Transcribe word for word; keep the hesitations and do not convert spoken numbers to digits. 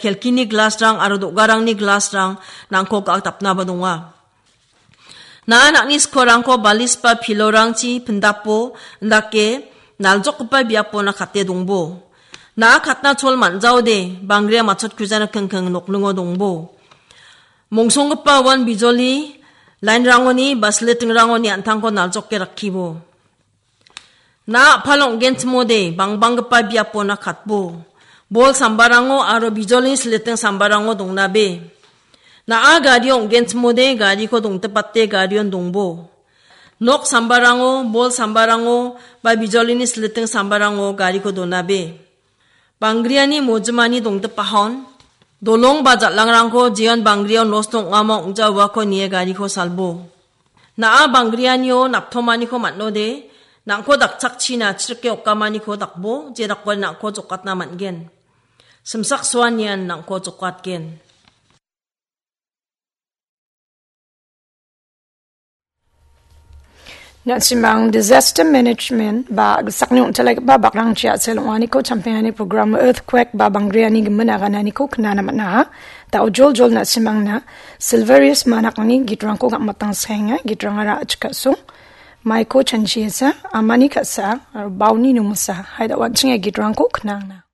kelkini glasrang aro do·garangni glasrang nangko ga·akdapnaba donga. Na·a nang·ni skorrangko balis ba pilorangchi pindapo, indake naljokgipa biapona kate dongbo. Na·a katna chol man·jaode, bangria matchotkujana kengkeng nokningo dongbo. Mongsonggipa uan bijoli lainrangoni ba silitingrangoni an·tangko naljoke rakkibo. Na·a a·pal ong·genchimode bangbanggipa biapona katbo. Bol sambarango aro bijolini siliting sambarango dongnabe. Na·a gario ong·genchimode gariko dongtipate garion dongbo. Nok sambarango, bol sambarango ba bijolini siliting sambarango gariko donabe. Banggriani mojimani dongdipahon, dolong ba jal·angrangko jeon banggriao nosto ong·amo ong·ja uako nie gariko salbo. Na·a banggrianio naptomaniko man·ode, nang·ko dakchakchina chirike okamaniko dakbo, jedakon nang·ko jokatna man·gen. Simsaksoanian nang·ko jokatgen. Na·simang disaster management ba gisakni ong·telaigipa bakrangchi a·sel ong·aniko champengani program earthquake ba banggriani gimin agananiko knana man·a. Da·o joljol na·simangna Silverius Manakni gitrangko gam·atangsaenga, gitrangara a·chik ka·song. Maiko chanchiesa, amani ka·sa, aro bauni nomosa. Hai da·o an·ching ia gitrangko knangna.